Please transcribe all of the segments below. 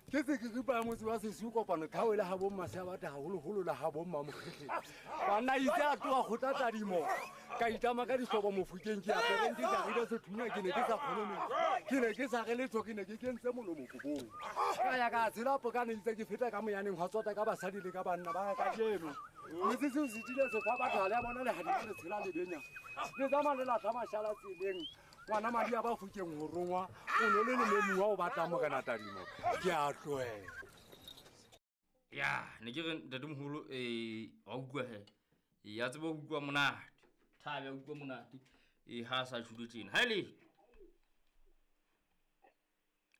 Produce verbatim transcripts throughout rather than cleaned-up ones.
Ke se ke ripa motse wa sesiu kopano tlhao le ha bo mmasea batho haholoholo le ha bo mmamokgetleng. Banna itse a tloha kgotla tadimo. Ka itlama ka dihlobo mofokeng ke apereng ke jarile sethunya ke ne ke sa kgone metsi. Ke ne ke sa re letho ke ne ke kentse molomo kobong. Ka ya ka tshela pokane itse ke feta ka moyaneng hwa tsota ka basadi le ka banna ba ka kajeno. Metse seo se tile se fa batho ha le a bona lehadima le tshela le benya. Le tsamaya le lahla mashala tseleng. Ngwana madi a ba fokeng ho rongwa o no le lememuwa o batlang morena tadimo ke a tlohela. Ya ne ke re ntatemoholo eh wa utlwa he ya tseba ho utlwa monate thabe ya utlwa monate eh ha sa tjhulo tjena ha ile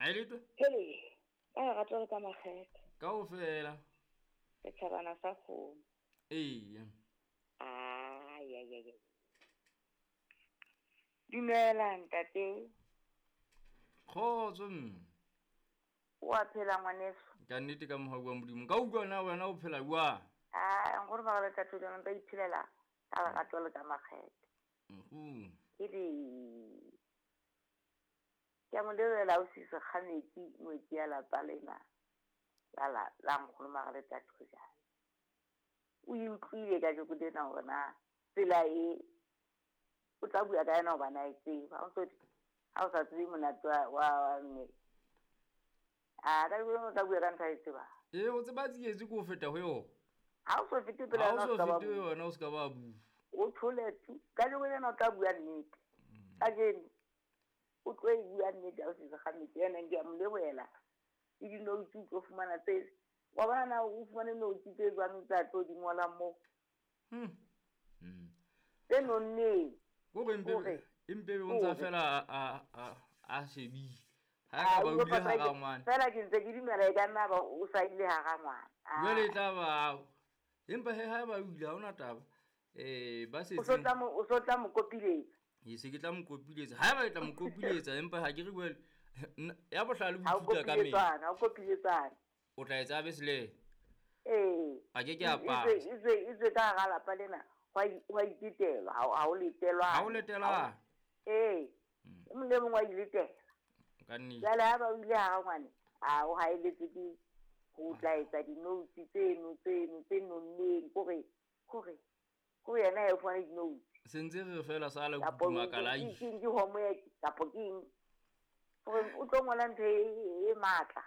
ha ile to hele ba rata le ka makgethe kaofela setjhabana sa kgomo ee ai ai ai dumela ntate. Kgotso mme. O a phela ngwaneso? Ka nnete ka mohau wa Modimo. Ka utlwa na wena o phela jwang? Ah, nkgono ba re tla tswela nka iphelela ka lerato le ka makgethe. Mhm. Ke di ke mo lebela o sise kgametsi ngwetsi ya lapa lena. La la la nkgono ba re tla tswela. O e utlwile ka joko lena hore na tsela e o tla bua ka yena hobane a e tseba. Ha o so ha o sa tsebe monate wa wa mme. A ka bua o tla bua ka ntho a e tsebang. Ee, o tseba tsietsi ke ho feta ho yona. Ha o so fete pele Ha yona o o so ska ba fete ho bua. yona o ska ba bua. O thole tu. Ka joko lena o tla bua nnete. Kajeno o tlo e bua nnete ha o setse kgametsi. Ena ke a mo lebohela. Le dinoutsu o tlo fumana tse. Wa bona na o fumane noutsu tse jwang tsa tlo di ngolang moo? Hmm. Hmm. Tse nonneng. Kore empe Hore. empe o ntsa Hore. fela a a a a shebile. Ha Ah, ka ba o o ile patla hara ke- ngwana. Fela ke ntse ke dumela e ka nna ba o sa ile hara ngwana. Ah. Jwale e tla ba empa he ha ba o ile ha hona taba. Eh ba O so setseng tla mo o so tla mo kopiletsa. E se ke tla mo kopiletsa. Ha eba ke tla mo kopiletsa empa ha ke re jwale ya bohlale bo Ha o ithuta ka mehla. kopiletsana, ha o kopiletsana. O tla etsa be sele. Ee. A ke ke a E- e pasa. tswe- e tswe- e tswe ka hara lapa lena, hwa i- hwa itetelwa, ha o- ha o letelwa. Ha o letelwa. Ee. E mong le mong wa iletela. Ka nnete. Jwale ha ba o ile hara ngwane, a o haeletse ke ho tla etsa di-notes tseno, tseno, tse nonneng, kore, kore, kore yena ha e fumane di-notes. Se ntse re fela sa la Kapo kutuma ke- ka la ke- ke- ke homework, kapo ke eng? Hore o tlo ngola ntho e, e matla.